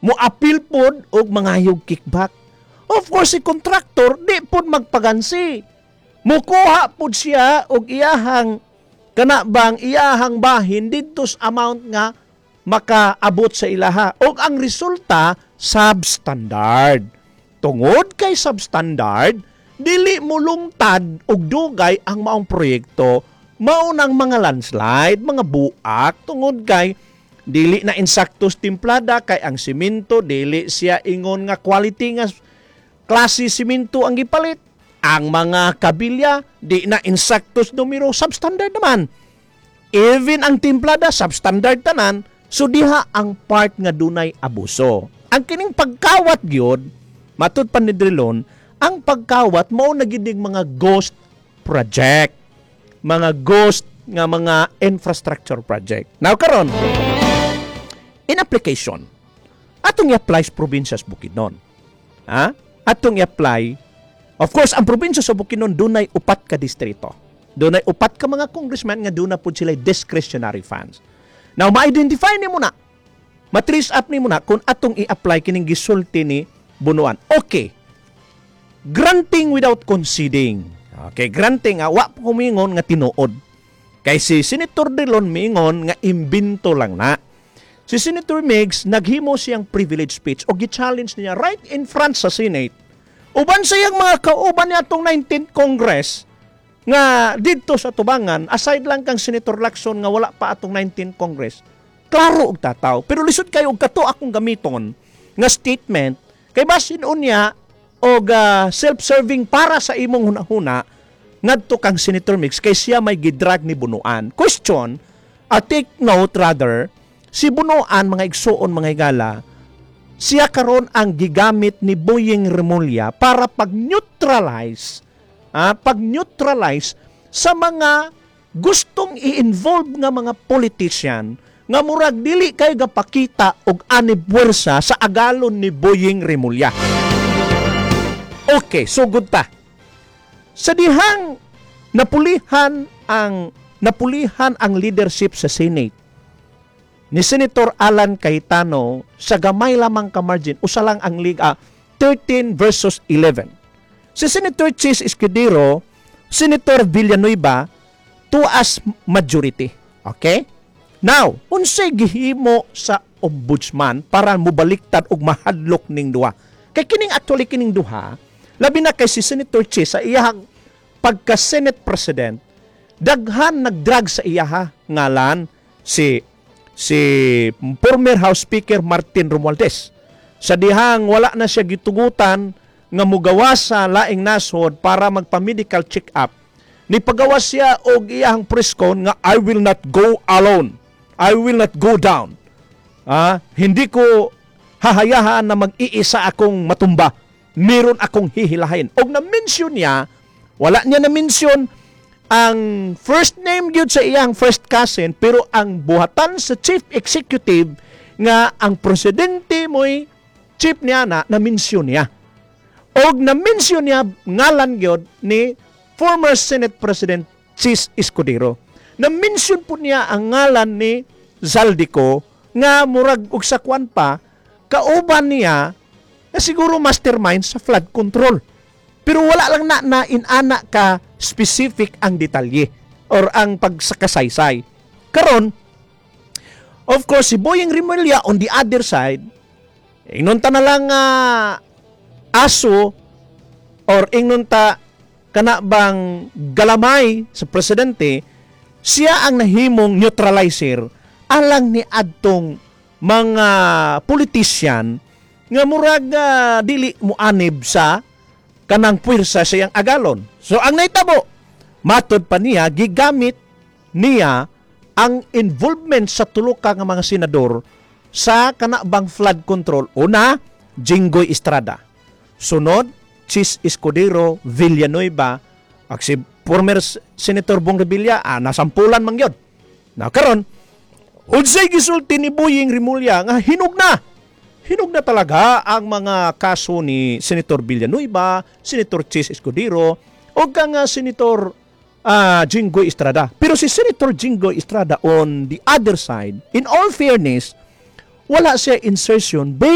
Mo-appeal pod og mangayog kickback. Of course, si contractor di pod magpagansi. Mukuha pod siya og iyahang kana bang iyahang bahin didto sa amount nga makaabot sa ilaha. Og ang resulta, substandard. Tungod kay substandard, dili mulungtad og dugay ang maong proyekto, mao nang mga landslide, mga buak, tungod kay dili na insaktos timplada, kay ang simento dili siya ingon nga quality nga klase simento ang gipalit. Ang mga kabilya di na insaktos numero, substandard naman. Even ang timplada, substandard tanan. So diha ang part nga dunay abuso. Ang kining pagkawat gyud, matud pa ni Drilon, ang pagkawat mao na gyud ning mga ghost project. Mga ghost nga mga infrastructure project. Now karon, in application, atong i-apply sa probinsya sa Bukidnon. Ha? Atong i-apply. Of course, ang probinsya sa Bukidnon dunay upat ka distrito. Dunay upat ka mga congressman nga duna pud sila discretionary funds. Now, ma-identify nimo na. Ma-trace up nimo na kung atong i-apply kining gisulti ni Bunuan. Okay. Granting without conceding. Okay, granting nga wa ko miingon nga tinuod. Kay si Senator Drilon miingon nga imbento lang na. Si Senator Migz, naghimo siyang privilege speech o gi-challenge niya right in front sa Senate. Uban sa iyang mga kauban niya atong 19th Congress nga didto sa tubangan, aside lang kang Senator Lacson nga wala pa atong 19th Congress. Klaro og tataw, pero lisod kayo og kato akong gamiton nga statement kay basin unya og self-serving para sa imong hunahuna ngadto kang Senator Migz kay siya may gidrag ni Bunuan. Question, take note rather, si Bunuan, mga igsuon, mga higala, siya karon ang gigamit ni Boying Remulla para pag-neutralize sa mga gustong i-involve nga mga politician nga murag dili kay gapakita og anib puwersa sa agalon ni Boying Remulla. Okay, sugod ta. Sa dihang napulihan ang leadership sa Senate ni Senator Alan Cayetano sa gamay lamang ka margin, usa lang ang liga, 13 versus 11. Si Senator Chiz Escudero, Senator Villanueva, to as majority. Okay? Now, unsay gihimo sa ombudsman para mobaliktad og mahadlok ning duha? Kay kining actually kining duha, labi na kay si Senator Chiz sa iyang pagka Senate President, daghan nagdrag sa iyaha ngalan si former House Speaker Martin Romualdez. Sa dihang wala na siya gitugutan nga mugawas sa laing nasod para magpa-medical check-up, ni pagawas siya og iyahang press con nga "I will not go alone. I will not go down." Hindi ko hahayahan na mag-iisa akong matumba. Meron akong hihilahin. Og na-mention niya, wala niya na-mention ang first name gyud sa iyang first cousin, pero ang buhatan sa chief executive nga ang presidente mo'y chief niya na na-mention niya. Og na-mention niya ngalan gyud ni former Senate President Chiz Escudero. Na-mention po niya ang ngalan ni Zaldy Co nga murag og sa kwan pa kauban niya na siguro mastermind sa flood control. Pero wala lang na na inana ka specific ang detalye or ang pagsakasaysay. Karon, of course, si Boying Remulla on the other side, ingnon ta na lang aso or ingnon ta kana bang galamay sa presidente, siya ang nahimong neutralizer alang ni adtong mga politician nga murag dili muanib sa kanang puwersa sa iyang agalon. So ang nahitabo, matod pa niya, gigamit niya ang involvement sa tulo ka nga mga senador sa kanabang flood control. Una, Jinggoy Estrada. Sunod, Chiz Escudero, Villanueva, ak si former Senator Bong Revilla, nasampulan man gyud. Na karon, unsay gisulti ni Boying Remulla nga hinog na. Hinog na talaga ang mga kaso ni Senator Villanueva, Senator Chiz Escudero, o kang Senator Jinggoy Estrada. Pero si Senator Jinggoy Estrada on the other side, in all fairness, wala siya insertion based